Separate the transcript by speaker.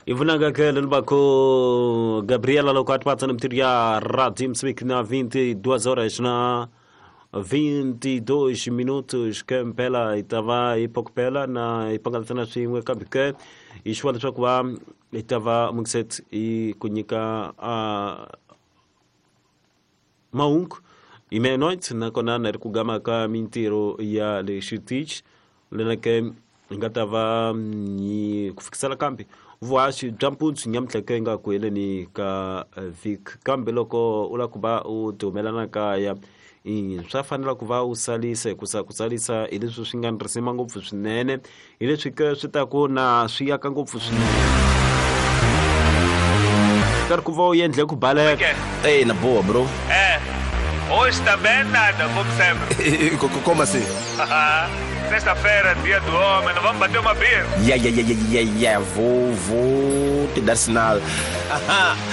Speaker 1: Ivunanga ke lelibako Gabriela loko atipatsa na mitiru ya Rádio Moçambique na 22 horas na 22 minutos ke mpela hi ta va hi pokopela na hi pangalatana swin'we kambe ke hi xuwa leswaku va hi ta va mukset hi ku nyika mahungu hi meia-noite nakona na ri ku gama ka mintirho ya le xitichi lena ke hi nga ta va hi ku fikisela kambe vuhaxi bya mpundzu nyamutlha ke nga ku heleni ka vhiki kambe loko u lava ku va u ti humela na kaya swa fanela ku va u salisa hikusa ku salisa hi leswi swi nga ni risima ngopfu swinene hi leswi ke swi ta ku na swi yaka ngopfu swinene karhi ku va u endle ku baleka.
Speaker 2: Ei, na boa, bro.
Speaker 3: É. Hoje também nada, como sempre.
Speaker 2: Como assim?
Speaker 3: Sexta-feira, dia do homem, não vamos bater uma beer?
Speaker 2: Yeah, yeah, yeah, yeah, yeah. Vou te dar sinal.